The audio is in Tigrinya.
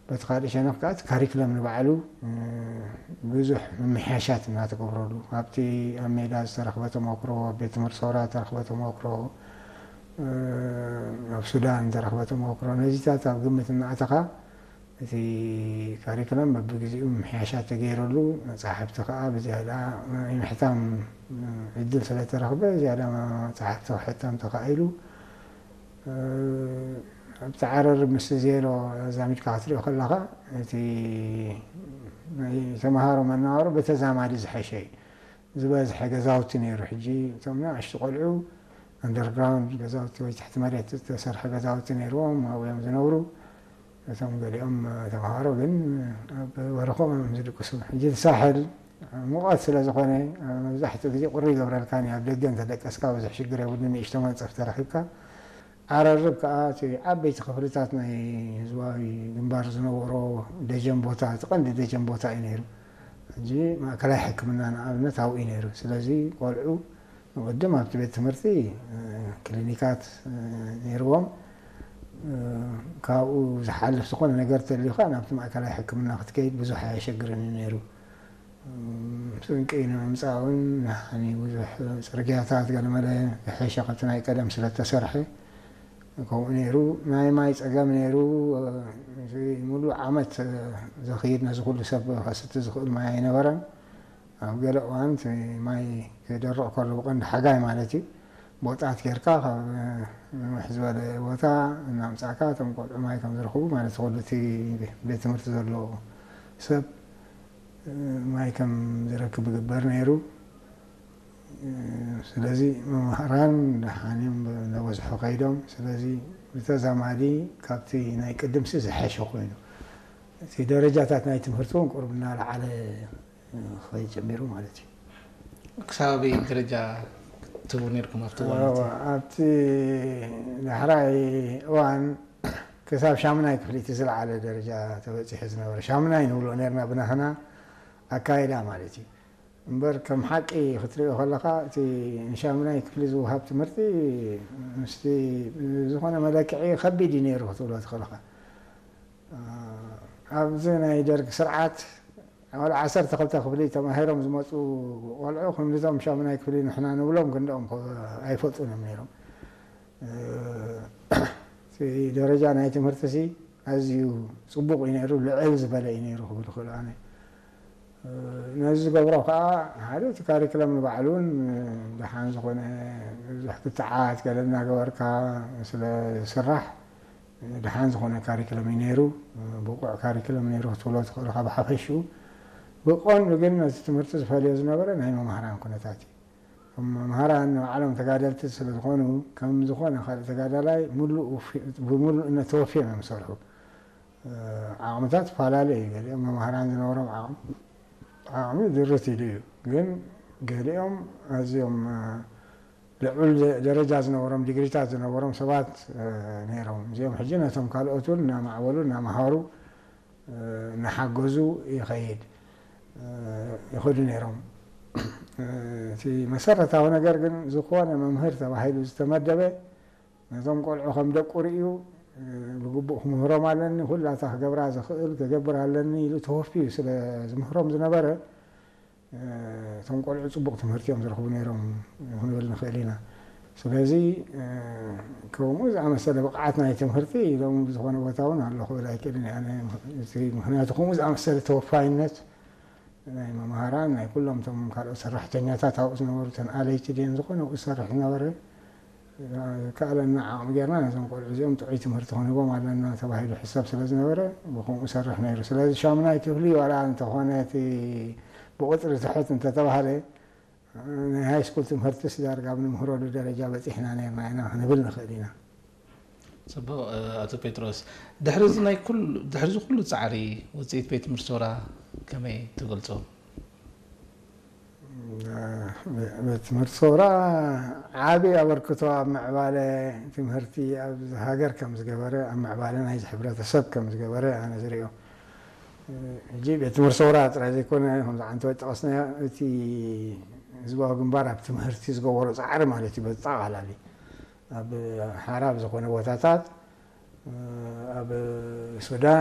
በቲ ካልእ ሸነኽ ከዓ እቲ ካሪክለም ንባዕሉ ብዙሕ ምምሕያሻት እናተገብረሉ፣ ኣብቲ ኣብ ሜዳ ዝተረኽበ ተመክሮ፣ ኣብ ቤት ትምህርቲ ሰውራ ዝተረኽበ ተመክሮ፣ ኣብ ሱዳን ዝተረኽበ ተመክሮ፣ ነዚታት ኣብ ግምት እናኣተኻ እቲ ካሪክለም በብግዜኡ ምምሕያሻት ተገይረሉ፣ መጻሕፍቲ ከዓ ብዝያዳ ናይ ምሕታም ዕድል ስለተረኽበ ዝያዳ መጻሕፍቲ ክሕተም ተኻኢሉ። ኣብቲ ዓረር ምስ ዜሮ ኣዛሚድካ ክትሪኦ ከለኻ፣ እቲ ናይ ተምሃሮ መነባብሮ ብተዛማዲ ዝሐሸ እዩ። ዝበዝሐ ገዛውቲ ነይሩ። ሕጂ እቶም ንኣሽቱ ቆልዑ ኣንደርግራውንድ ገዛውቲ ወይ ትሕቲ መሬት ዝተሰርሐ ገዛውቲ ነይርዎም፣ ኣብኡ እዮም ዝነብሩ። እቶም ገሊኦም ተምሃሮ ግን ኣብ በረኾም እዮም ዝድቅሱ። ሕጂ እቲ ሳሕል ሙቐት ስለ ዝኾነ፣ መብዛሕትኡ ግዜ ቁሪ ይገብረልካ፣ ኣብ ደገ እንተደቀስካ ብዙሕ ሽግር የብሉን፣ ንእሽቶ መንጸፍ ተረኺብካ። ዓረርብ ከኣ እቲ ዓበይቲ ክፍልታት ናይ ህዝባዊ ግንባር ዝነበሮ ደጀን ቦታ፣ እቲ ቀንዲ ደጀን ቦታ እዩ ነይሩ። ሕጂ ማእከላይ ሕክምና ንኣብነት ኣብኡ እዩ ነይሩ። ስለዚ ቆልዑ ንቕድም ኣብቲ ቤት ትምህርቲ ክሊኒካት ነይርዎም። ካብኡ ዝሓልፍ ዝኾነ ነገር ተልዩ ከኣ ናብቲ ማእከላይ ሕክምና ክትከይድ ብዙሕ ኣየሸግርን እዩ ነይሩ። ስንቂ ንምምፃእ እውን ንሓኒ ብዙሕ ፅርግያታት ገለመለ ዝሐሸ ካብቲ ናይ ቀደም ስለተሰርሐ ከምኡ ነይሩ። ናይ ማይ ፀገም ነይሩ። እዚ ሙሉእ ዓመት ዘኽይድ ነዚ ኩሉ ሰብ ከስቲ ዝኽእል ማይ ኣይነበረን። ኣብ ገለ እዋን እቲ ማይ ክደርቕ ከሎ ብቐንዲ ሓጋይ ማለት እዩ፣ ቦጣት ጌርካ ካብ ንውሕ ዝበለ ቦታ እናምፃእካ እቶም ቆልዑ ማይ ከም ዝረኽቡ ማለት ኩሉ እቲ ቤት ትምህርቲ ዘሎ ሰብ ማይ ከም ዝረክብ ይግበር ነይሩ። ስለዚ መምህራን ደሓን እዮም እናበዝሑ ከይዶም። ስለዚ ብተዛማዲ ካብቲ ናይ ቅድምሲ ዝሐሸ ኮይኑ እቲ ደረጃታት ናይ ትምህርቲ እውን ቁርብ እናለዓለ ክኸይድ ጀሚሩ ማለት እዩ። ክሳብ ኣበይ ደረጃ ትህቡ ነርኩም ኣብቲ እዋን እቲ? ኣብቲ ዳሕራይ እዋን ክሳብ ሻሙናይ ክፍሊ እቲ ዝለዓለ ደረጃ ተበፂሑ ዝነበረ። ሻሙናይ ንብሎ ነርና ብናህና ኣካይዳ ማለት እዩ። እምበር ከም ሓቂ ክትሪኦ ከለኻ እቲ ንሻሙናይ ክፍሊ ዝወሃብ ትምህርቲ ምስቲ ዝኾነ መለክዒ ከቢድ እዩ ነይሩ ክትብሎ ትኽእልኻ። ኣብዚ ናይ ደርግ ስርዓት ወላ ዓሰርተ ክልተ ክፍሊ ተማሂሮም ዝመፁ ቆልዑ ክንድቶም ሻሙናይ ክፍሊ ንሕና ንብሎም ክንድኦም ኣይፈልጡን እዮም ነይሮም። እቲ ደረጃ ናይ ትምህርቲ ሲ ኣዝዩ ፅቡቕ እዩ ነይሩ፣ ልዕል ዝበለ እዩ ነይሩ ክብል ይኽእል ኣነ። ነዚ ዝገብሮ ከዓ ሓደ እቲ ካሪክለም ንባዕሉን ደሓን ዝኾነ ብዙሕ ክትዓት ገለ እናገበርካ ስለ ዝስራሕ ደሓን ዝኾነ ካሪክለም እዩ ነይሩ። ብቑዕ ካሪክለም ነይሩ ክትብሎ ትኽእል ኢኻ ብሓፈሽኡ። ብቐንዱ ግን ነቲ ትምህርቲ ዝፈልዮ ዝነበረ ናይ መምሃራን ኩነታት እዩ። እቶም መምሃራን ንባዕሎም ተጋደልቲ ስለ ዝኾኑ ከም ዝኾነ ካልእ ተጋዳላይ ሙሉእ ውፊ-፣ ብምሉእነት ተወፊዮም እዮም ዝሰርሑ። ዓቕምታት ይፈላለ እዩ። ገሊኦም መምሃራን ዝነበሮም ዓቕሚ ዓቕሚ ድርት ኢሉ እዩ። ግን ገሊኦም ኣዝዮም ልዑል ደረጃ ዝነበሮም ዲግሪታት ዝነበሮም ሰባት ነይሮም። እዚኦም ሕጂ ነቶም ካልኦት እውን እናማዕበሉ እናመሃሩ እናሓገዙ ይኸይድ ይኸዱ ነይሮም። እቲ መሰረታዊ ነገር ግን ዝኾነ መምህር ተባሂሉ ዝተመደበ ነዞም ቆልዑ ከም ደቁ ርእዩ ብግቡእ ክምህሮም ኣለኒ፣ ኩላታ ክገብራ ዝኽእል ክገብር ኣለኒ ኢሉ ተወፊዩ ስለ ዝምህሮም ዝነበረ እቶም ቆልዑ ፅቡቕ ትምህርቲ እዮም ዝረኽቡ ነይሮም ክንብል ንኽእል ኢና። ስለዚ ከምኡ ዝኣመሰለ ብቕዓት ናይ ትምህርቲ ሎሚ ብዝኾነ ቦታ እውን ኣሎ ክብል ኣይክእልን እየ። ኣነ እቲ ምኽንያቱ ከምኡ ዝኣመሰለ ተወፋይነት ናይ መምሃራን ናይ ኩሎም እቶም ካልኦት ሰራሕተኛታት ኣብኡ ዝነበሩ እተን ኣለይቲ ድየን ዝኾነ ኣብኡ ዝሰርሕ ዝነበረ ዝከኣለና ዓቕሚ ጌርና ነዞም ቆልዑ እዚኦም ጥዑይ ትምህርቲ ክንህቦም ኣለና ተባሂሉ ሕሰብ ስለ ዝነበረ ብከምኡ ሰርሕ ነይሩ። ስለዚ ሻሙናይ ክፍሊ ዋላ እንተኾነ እቲ ብቁፅሪ ትሕት እንተተባህለ ናይ ሃይ ስኩል ትምህርትስ ዳርጋ ኣብ ንምህረሉ ደረጃ በፂሕና ነርና ኢና ክንብል ንኽእል ኢና። ፅቡቕ ኣቶ ጴጥሮስ፣ ድሕሪ እዚ ናይ ኩሉ ድሕሪ እዚ ኩሉ ፃዕሪ ውፅኢት ቤት ትምህርቲ ሶራ ከመይ ትገልፆ? ቤት ትምህርቲ ሶራ ዓቢ ኣበርክቶ ኣብ ምዕባለ ትምህርቲ ኣብ ሃገር ከም ዝገበረ ኣብ ምዕባለ ናይዚ ሕብረተሰብ ከም ዝገበረ ኣነ ዝሪኦ። ሕጂ ቤት ትምህርቲ ሶራ ጥራይ ዘይኮነ ከምዚ ዓንተወ ጠቐስናዮ እቲ ህዝባዊ ግንባር ኣብ ትምህርቲ ዝገበሮ ፃዕሪ ማለት እዩ በጠቓላሊ ኣብ ሓራ ኣብ ዝኾነ ቦታታት ኣብ ሱዳን